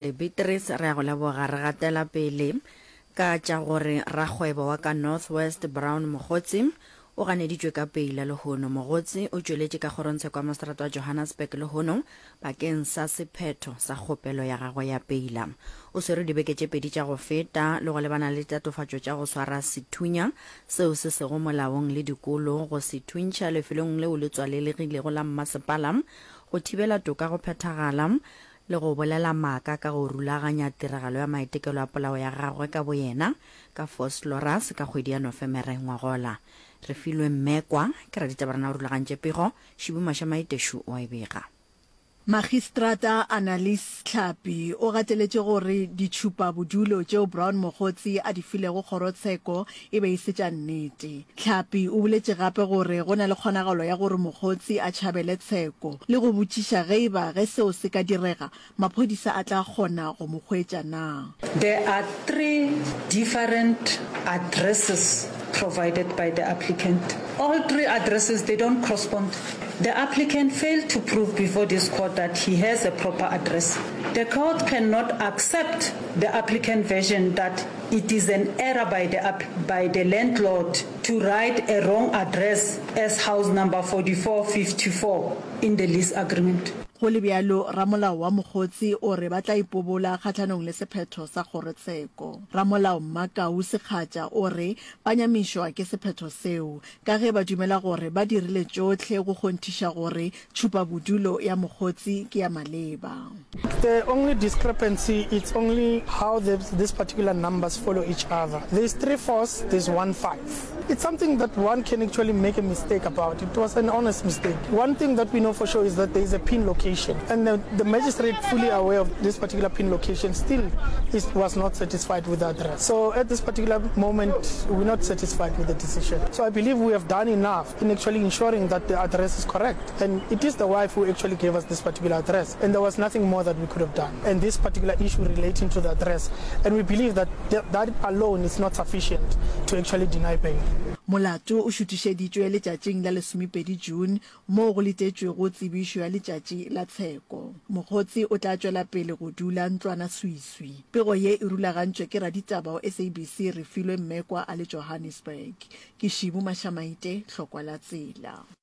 Beatrice, Re a go leboga. Re gatela pele ka tša gore rakgwebo wa ka North West Brown Mogotsi o ganeditšwe ka peila lehono. Mogotsi o tšweletše ka kgorongtsheko ya moseterata wa Johannesburg lehono bakeng sa sephetho sa kgopelo ya gagwe ya peila. O swerwe dibeke tše pedi tša go feta le go lebana le ditatofatšo tša go swara sethunya seo se sego molaong le dikolo go se thuntšha lefelong leo le tswalelegilego la mmasepala go thibela toka go phethagala le go bolela maaka ka go rulaganya tiragalo ya maitekelo a polao ya gagwe ka boyena ka Vosloorus ka kgwedi ya Nofemere ngwagola. Refilwe Mmekwa ke raditaba rena o rulagantše pego, Šibu Mašamaitešu o a e bega. Magistrata Annalise Tlhapi o gateletše gore ditšhupabodulo tšeo Brown Mogotsi a di filego kgorotsheko e be e se tša nnete. Tlhapi o boletše gape gore go na le kgonagalo ya gore Mogotsi a tšhabele tsheko le go botšiša ge e ba ge seo se ka direga, maphodisa a tla kgona go mo hwetša na. There are 3 different addresses provided by the applicant. All 3 addresses they don't correspond. The applicant failed to prove before this court that he has a proper address. The court cannot accept the applicant version that It is an error by the by the landlord to write a wrong address as house number 4454 in the lease agreement. Go le bjalo, ramolao wa Mogotsi o re ba tla ipobola kgahlanong le sephetho sa kgorotsheko. Ramolao Mmakau Sekgatša o re ba nyamišwa ke sephetho seo, ka ge ba dumela gore ba dirile tšohle go kgonthiša gore tšhupabodulo ya Mogotsi ke ya maleba. The only discrepancy it's only how the, this particular numbers follow each other. There's 3 fours, there's 1 5. It's something that one can actually make a mistake about. It was an honest mistake. One thing that we know for sure is that there is a pin location, and the, the magistrate, fully aware of this particular pin location, still is, was not satisfied with the address. So at this particular moment, we're not satisfied with the decision. So I believe we have done enough in actually ensuring that the address is correct. And it is the wife who actually gave us this particular address. And there was nothing more that we could have done. And this particular issue relating to the address. And we believe that that alone is not sufficient to actually deny bail. Molato o šuthišeditšwe letšatšing la lesomepedi June moo go letetšwego tsebišo ya letšatši la tsheko. Mokgotsi o tla tšwela pele go dula ntlwanaswiswi. Pego ye e rulagantšwe ke raditaba wa SABC Refilwe Mmekwa a le Johannesburg. Ke Šibu Mašamaite, Hlokwa la Tsela.